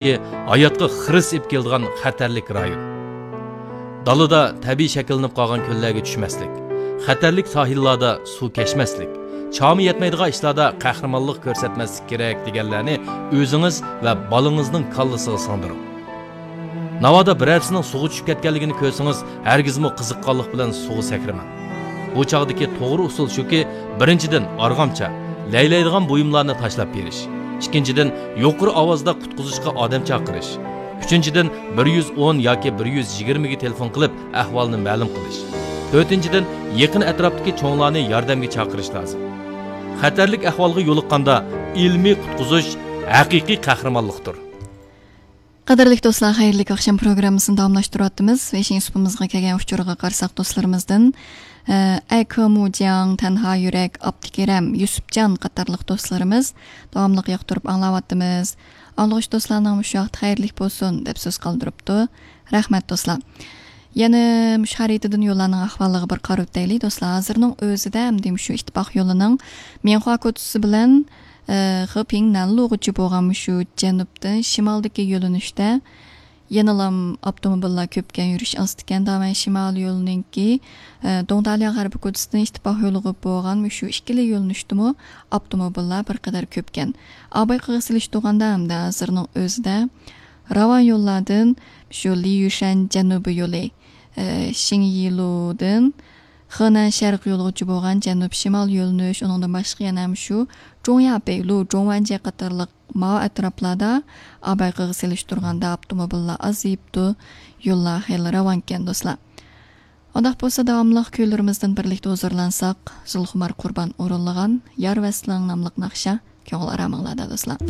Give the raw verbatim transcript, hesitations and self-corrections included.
ھاياتقا خىرىس ئېلىپ كېلىدىغان خەتەرلىك رايون. دالىدا تەبىئىي شەكىللىنىپ قالغان كۆللەرگە چۈشمەسلىك، خەتەرلىك ساھىللاردا سۇ كەچمەسلىك، چامى يەتمەيدىغان ئىشلاردا قەھرىمانلىق كۆرسەتمەسلىك كېرەك دېگەنلەرنى ئۆزىڭىز ۋە بالىڭىزنىڭ كاللىسىغا سىڭدۈرۈڭ. ناۋادا بىرەرسىنىڭ سۇغا چۈشۈپ كەتكەنلىكىنى كۆرسىڭىز، ھەرگىزمۇ قىزىققانلىق بىلەن سۇغا سەكرىمەڭ. بۇ چاغدىكى توغرا ئۇسۇل شۇكى، بىرىنچىدىن، ئارغامچا، لەيلەيدىغان بۇيۇملارنى تاشلاپ بېرىش. ئىككىنچىدىن، يۇقىرى ئاۋازدا قۇتقۇزۇشقا ئادەم چاقىرىش. ئۈچىنچىدىن، بىر يۈز ئون ياكى بىر يۈز يىگىرمىگە تېلېفون قىلىپ، ئەھۋالنى مەلۇم قىلىش. تۆتىنچىدىن، يېقىن ئەتراپتىكى چوڭلارنى ياردەمگە چاقىرىش لازىم. خەتەرلىك ئەھۋالغا يولۇققاندا، ئىلمىي قۇتقۇزۇش ھەقىقىي قەھرىمانلىقتۇر. قەدىرلىك دوستلار، خەيرلىك ئاخشام پروگراممىسىنى داۋاملاشتۇرۇۋاتىمىز. بېشىنچى سۇپىمىزغا كەلگەن ئۇچۇرغا قارىساق، دوستلىرىمىزدىن، ئە، ئەكىمۇجياڭ، تەنھا يۈرەك، ئابدۇكېرەم، يۈسۈپجان قاتارلىق دوستلىرىمىز داۋاملىق ياقتۇرۇپ ئاڭلاۋاتىمىز. ئاڭلىغۇچى دوستلارنىڭ مۇشۇ ۋاقتى خەيرلىك بولسۇن دەپ سۆز قالدۇرۇپتۇ. رەھمەت، دوستلار. يەنە مۇشۇ خەرىتىدىن يوللارنىڭ ئەھۋالىغا بىر قاراۋېتەيلى، دوستلار. ھازىرنىڭ ئۆزىدە ئەمدى مۇشۇ ئىتتىپاق يولىنىڭ مىڭخۇا كوچىسى بىلەن، ئە، خېپىڭ نەنلۇغىچە بولغان مۇشۇ جەنۇبتىن شىمالدىكى يۆنىلىشتە يەنىلام ئاپتوموبىللار كۆپكەن، يۈرۈش ئاستىكەن. داۋەن شىمال يولىنىڭكى، ئە، دۇڭتاليا غەربىي كوچىسىدىن ئىتتىپاق يولىغا بولغان مۇشۇ ئىككىلا يۆنىلىشتىمۇ ئاپتوموبىللار بىر قەدەر كۆپكەن. ئاباي قىغى سېلىشتۇرغاندا ھەمدە ھازىرنىڭ ئۆزىدە راۋان يوللاردىن شۇ لىيۈشەن جەنۇبىي يولى، ئە، شىڭيىلۇدىن خېنەن شەرقىي يولىغىچە بولغان جەنۇب شىمال يۆنىلىش، ئۇنىڭدىن باشقا يەنە مۇشۇ جۇڭيا بەيلۇ، جۇڭۋەنجيې قاتارلىق ماۋۇ ئەتراپلاردا ئاباي قىغى سېلىشتۇرغاندا ئاپتوموبىللار ئازىيىپتۇ، يوللار خېلى راۋانكەن، دوستلار. ئۇنداق بولسا، داۋاملىق كۈيلىرىمىزدىن بىرلىكتە ھۇزۇرلانساق، زۇلخۇمار قۇربان ئورۇنلىغان يار ۋەسلىڭ ناملىق ناخشا كۆڭۈل ئارامىڭلاردا، دوستلار.